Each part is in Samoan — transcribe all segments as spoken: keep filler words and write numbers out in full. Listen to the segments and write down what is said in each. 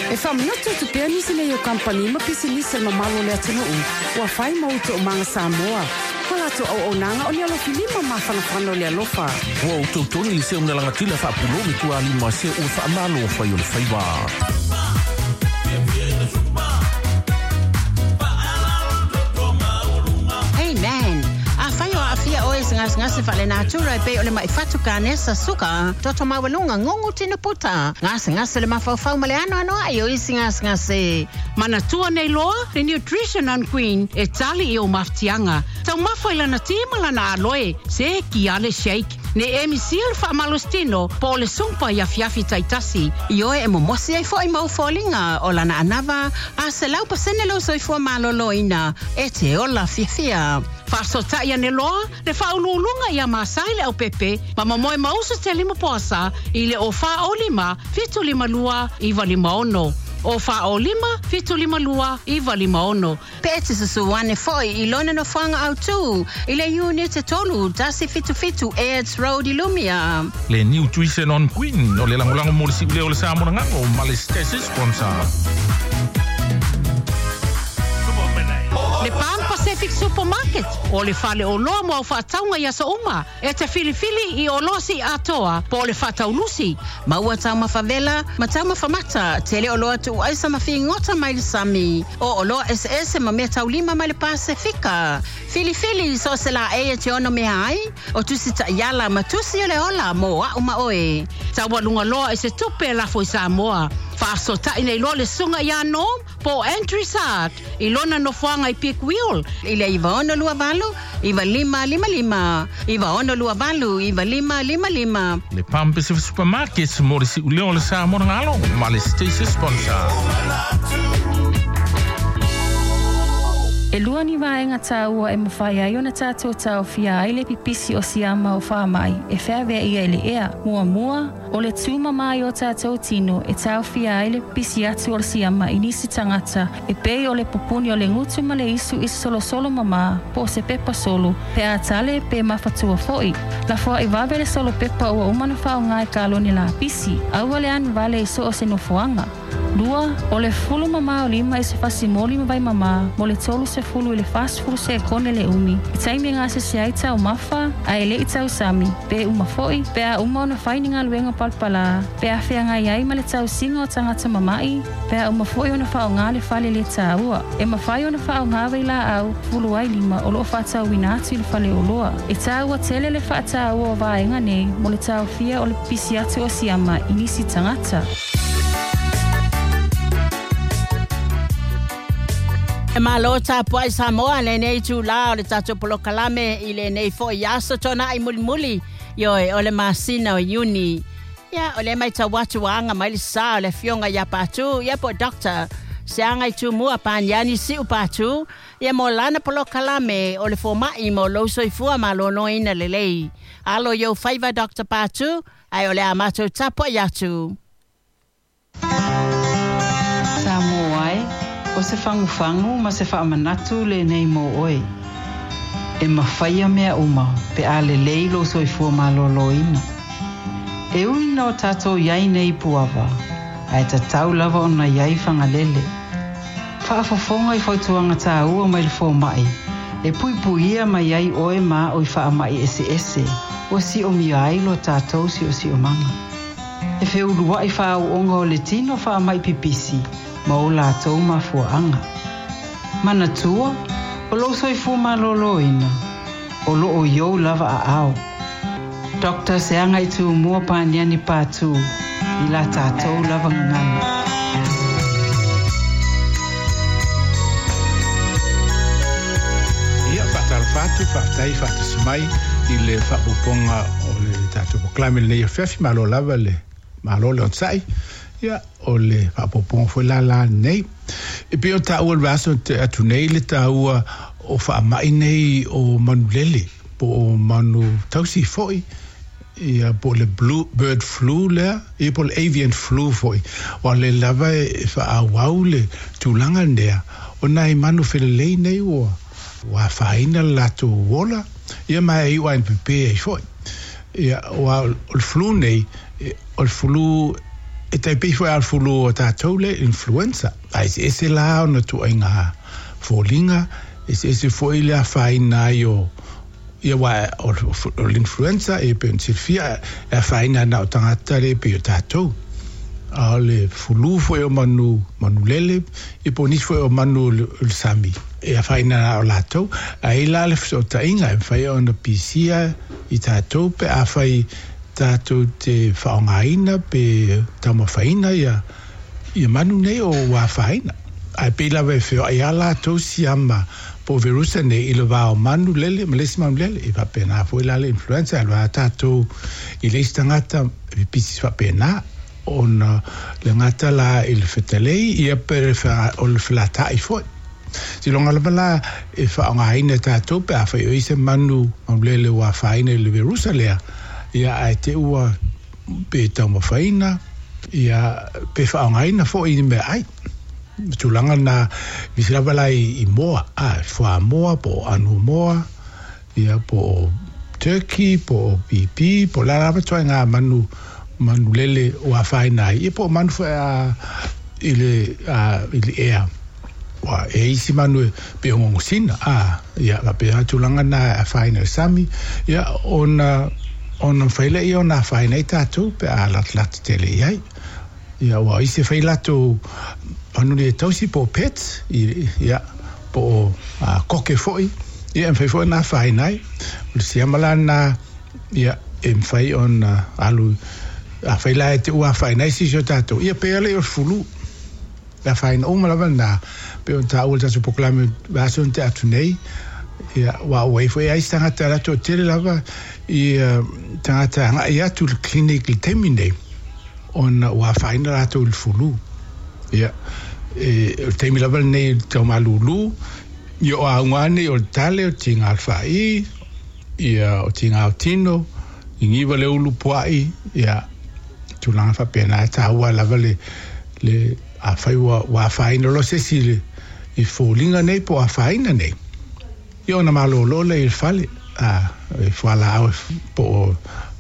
E whamanatu tu pea nisi nei o kampani ma pisinisi ma malo le atunuu, ua whai mautu o manga Samoa. Ma lato au au nanga o ni alofi lima mawhanawhana o le alofa. Ua o tautoni le seo mnalangatila whaapulo me tua lima se o whaamalo o whai o le whaiwa. Hey man, a whai o afia oe se ngase ngase whale natura e pe o le maifatu ka nesa suka, toto mawalunga ngongu tino puta, ngase ngase le mawhauwhau male ano ano ai o isi ngase ngase. Manatua nei loa, le Nutrition on Queen, e tali i o maftianga. Tau mafai lana tima lana aloe, se ki ale shake. Ne emi sil wha malostino, po le sumpa ia fiafi taitasi. I oe e momosi ai fo i mau fōlinga o lana anava, a se lau pasene lo soifua malolo ina, e te ola fiafia. Whaasota ia ne loa, le whaululunga ia masai le au pepe, ma mamoe mausu te lima poasa, i le o wha o lima, fitu lima lua, iwa lima ono. O wha o lima, fitu lima lua, iwa lima ono. Pe te susuane foi i lona no whanga au tū, i le unit te tolu, tasi fitu fitu, Aids Road i Lumia. Le Nutrition on Queen, o le langolango mo le siule o le Samoa ngango, ma le Stacy sponsor. Le Pan Pacific Supermarket, o le fale o loa mo au whaataunga ia sa uma, e te filifili i o loa si atoa, po o le whaataulusi. Maua tau mawhavela, ma tau mawhamata, te le o loa tu aisa mawhiingota mai le sami, o o loa S S ma mea taulima mai le Pasifika. Filifili so se la e te ono mea ai, o tusi ta iala ma tusi o le ola mo au ma oe. Taualunga loa e se tupe lafo i Samoa. Whaasotai nei loa le sunga ia nom, po Andrew Sart, i lona nofoanga i Peak Wheel. I le iwa ono lua valu, iwa lima lima lima, iwa ono lua valu, iwa lima lima lima. Le Palm Pacific Supermarket, mo le siuleo le Samoa ngalo, ma le Stacy sponsor. E lua ni vaenga tāua e mawhai ai ona tātou tāofia ai le pipisi o siama o whaamai e wheawea ia i le ea. Mua mua, o le tūma mai o tātou tino e tāofia ai le pipisi atu o le siama i nisi tangata e pei o le pupuni o le ngutu ma le isu i solo solo mama po o se pepa solo pe atale pe mawhatua foi. La foa i wawe le solo pepa ua umana whao ngai kaloni la pisi aua le anu vale i so o se nofoanga. Lua, o le fulu mama o lima i se fasimoli ma vai mama, mo le tolu se fulu i le fasfulu se kone le umi. I taimi ngā se se aita o mawha, a ele i tau sami, pe uma foi, pe a uma ona whaini ngā luenga palpala, pe a whea ngai ai ma le tau singa o tangata mamai, pe a uma foi ona whao ngā le whale le tāua. E mawhai ona whao ngā wei la au, fulu ai lima o loo whātau wina atu i le whale o loa. E tāua tele le whātāua o vaenga nei, mo le tau fia o le pisi atu o siama i nisi tangata. E malo tāpua i Samoa le nei tūlā o le tātou polokalame i le nei fo i aso tōna i mulimuli ioi o le masina o Iuni. Ia o le mai tau atu anga mai le sā o le fionga ia pātū ia po doctor se anga i tūmua pāniani siu pātū ia mo lana polokalame o le fōma'i mo lou soifua malōlōina lelei. Alo iou faiva Doctor Pātū ai o le a mātou tapua i atu. Samoa ai, o se whanguwhangu ma se whaamanatu le nei mō oe. E mawhaia mea uma, pe a le leilo soifua malōlōina. E ui no tātou iai nei puava, ai tatau lava ona iai whangalele. Whaafofonga i whautuanga tāua mai le fōmai, e puipuia mai ai oe mā o i whaamai ese ese, o si o mia ai lo tātou si o si o manga. E wheulua i whaauonga o le tino whaamai pipisi, ma o lātou mafuaanga. Manatua, o lo soifua malōlōina, o lo o iou lava a ao. Doctor Seanga i tūmua pāniani pātū, i la tātou lava ngangana. Ia, whaatalafatu, whaatai, whaatasimai, i le whaapuponga o le tātou poklame le nei awhiawhi, malo lava le malo le onsai, ia, o le whaapuponga fwe la la nei. E peo tāua le vaso te atu nei le tāua o whaamai nei o manulele, po o manu tausi foi, ia po le blue bird flu lea, ia po le avian flu foi. O le lava e whaawau le tūlanga nea, o nai manu whelelei nei ua, ua whaina le lātou wola, ia mai ai ua N P P ai foi. Ia, ua o le flu nei, o le flu E tai pei foi a le fulu o tātou le influenza. A ese ese la ona tuaiga foliga, eseese foi le afaina ai o ia wa o, o l'influenza e pe ona silafia e afaina na o tagata le pei o tātou. A o le fulu foi o manu manulele e po o nisi foi o manu o le, o le sami e afaina na o latou. Ae la le fesootaiga e mafai ona pisia i tātou pe afai tātou te faaaogaina pe taumafaina ia ia manu nei o ua afaina. Ae pei lava e feoai a latou siama po o verusa nei i le va o manu lele ma le isi manu lele. E faapena foi la le influenza e alu a tātou i le isi tagata e pipisi faapena ona le gata la i le fetalei ia pe le fa, o le felata'i foi. Siloga lava la e faaaogaina e tātou pe afai o i se manu manulele ua afaina i le verusa lea ia ae te ua pe taumafaina ia pe faaaogaina foi i ni meaai. Tulaga na nisi lava la i, i moa, a fuamoa po o anumoa ia po o turkey po o pipi po o la lava tuaiga manu manulele ua afaina ai ia po o manu foi a i le a, i le ea. Ua e isi manu e pe o gogosina a ia faapea tulaga na e afaina i le sami ia ona ona mafai lea ona afaina ai tātou pe a latalata tele i ai. Ia ua isi e fai latou manu nei e tausi po o pets i, ia po o a, koke foi ia e mafai foi ona afaina ai. O le siama la lena ia e mafai ona alu afai la e te ua afaina ai sisi o tātou ia pe ale o le fulu e afaina uma lava lena pe o tāua le tatou polokalame vaiaso na tea atu nei ia ua ua ai foi ai se tagata latou tele lava ia tagata e agai atu i le clinic i le taimi nei ona ua afaina latou i le fulu. Ia e o le taimi lava lenei i le taumalūlū ia o auga nei o le tale o tiga o le faai ia o tiga o tino gigiva le ulu pua'i ia tulaga faapena e tāua lava le le afai ua ua afaina loa se isi i le i foliga nei po o afaina nei ia ona malōlō lea i le fale a e fualaau po o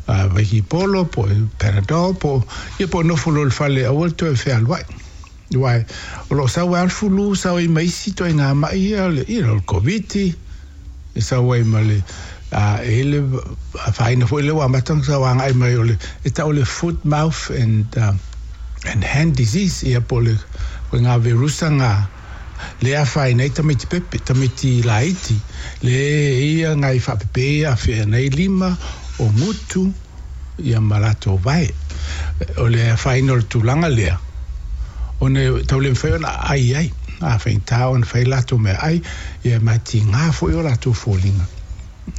a vaikipolo po o Panadol po o ia po o nofo loa i le fale aua le toe fealuai. Uae o loo sau ai a le fulu sau ai ma isi toaiga ma'i ia o le ia o le Koviti e sau ai ma le a e le afaina foi lea ua amata ona sau agai mai o le e tau o le foot mouth and uh, and hand disease ia po o le koe verusa ga le afaina ai tamaiti pepe tamaiti laiti le ia gai faapepe ia afea nei lima o gutu ia ma latou vae. O le afaina o le tulaga lea ona e tau le mafai ona aai ai a faigata ona fai latou meaai ia ma tigā foi o latou foliga.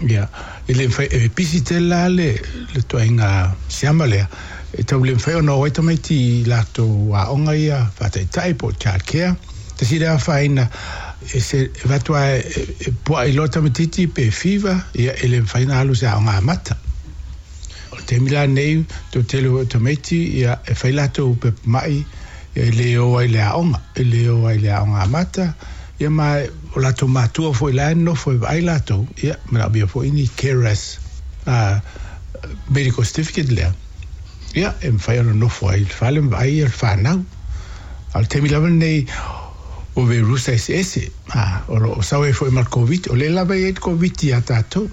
Ia e le mafai e pisi tele la le le tuaiga siama lea e tau le mafai ona o ai tamaiti i latou aoga ia faataitai po o child care. Tasi lea afaina e se e avatu lava e, e pua'i loa tamaititi pe fever ia e le mafai ona alu i se aoga amata. O le taimi la lenei tou tele foi o tamaiti ia e fai latou pepa ma'i ia e lē o ai i le aoga e lē o ai i le aoga amata ia ma o latou matua foi la e nonofo e vaai latou ia manaomia foi ni carers a medical certificate lea ia e mafai ona nofo ai i le fale ma vaai ia le fanau. A o le taimi lava lenei o verusa eseese a o loo sau ai foi ma le Covid o lea lava e i ai le Covid iā tātou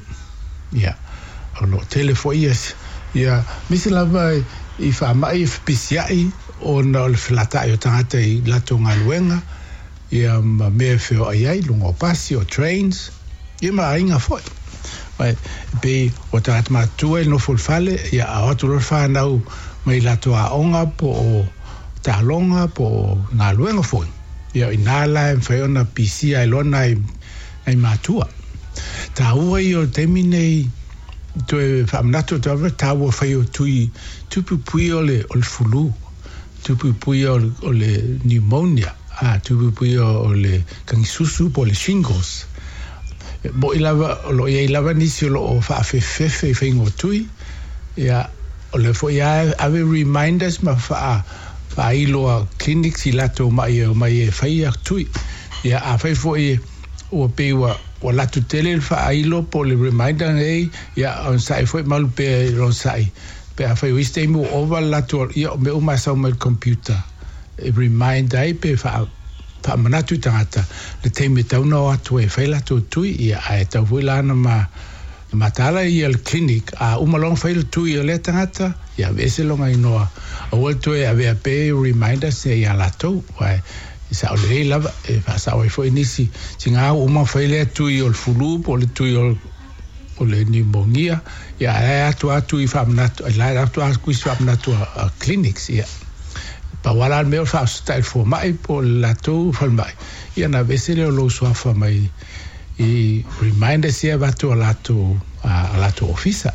ia o loo tele foi ia ia misi lava i faama'i e fepisia'i ona o le felata'i o tagata i latou galuega ia ma mea e feoai ai luga o pasi o trains ia ma aiga foi. Ai e pei o tagata matutua e nofo i le fale ia a o atu loa le fanau mai latou aoga po o taaloga po o galuega foi ia o iā la e mafai ona pisia ai loa nai nai matua. Tāua ia o le taimi nei toe faamanatu atu lava tāua fai o tui tupuipui o le o le fulu tupuipui o le, o le pneumonia a tupuipui o, o le kagisusu po o le shingles. E mo'i lava o loo iai lava nisi o loo faafefefefe i faiga o tui ia o le foi a ave reminders ma faa faailoa clinics i latou ma'i e omai e fai ia tui ia afai foi ua pei ua ua latou tele le faailo po o le reminder nei ia onosa'i foi malu pea i le onosa'i Pe afai o isi taimi ua ova le latou ia o mea uma e sau mai le computer e remind ai pe faa faamanatu i tagata le taimi e tatau ona o atu ai e fai latou tui ia ae tatau foi la ona ma mataala ia le clinic a uma loa ona fai le tui o lea tagata ia aveese lona inoa aua le toe avea pea reminders ia iā latou aua e sao lelei lava e faasao ai foi nisi tiga ua uma ona fai lea tui o le fulu po o le tui o o le pneumonia ia ae atu atu i faamanatu la atu atu isi faamanatu a, a clinics ia pau lava la le mea o le faafesootai i le foma'i po o le latou falemai ia ona aveese lea o lou suafa mai i reminders ia e avatu a latou a latou ofisa.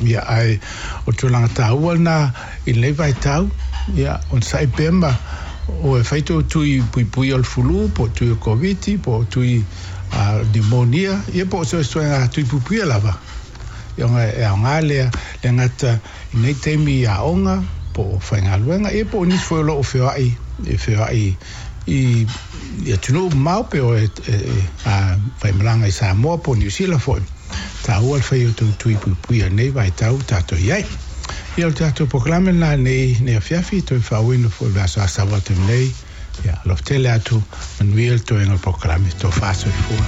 Ia ae o le tulaga taua lena i lenei vaitau ia onosai pea ma o e fai tou tui puipui o le fulu po o tui o Koviti po o tui a pneumonia ia po o so o se ituaiga tui puipuia lava. Ia ona e aoga lea le gata i nei taimi i aoga po o faigaluega ia po o nisi foi o lo o feoai e feoai i i atunuu mamao pe o e, e, e a, faimalaga i Samoa po o Niu Sila foi. Taua le fai o tou tui puipuia i lenei vaitau ua tatou i ai. Ia o le tatou polokalame lena nei nei afiafi toe faauuina foi i le aso Asa ua atu nei. Ia alofa tele atu manuia le toega o le polokalame tofa soifua.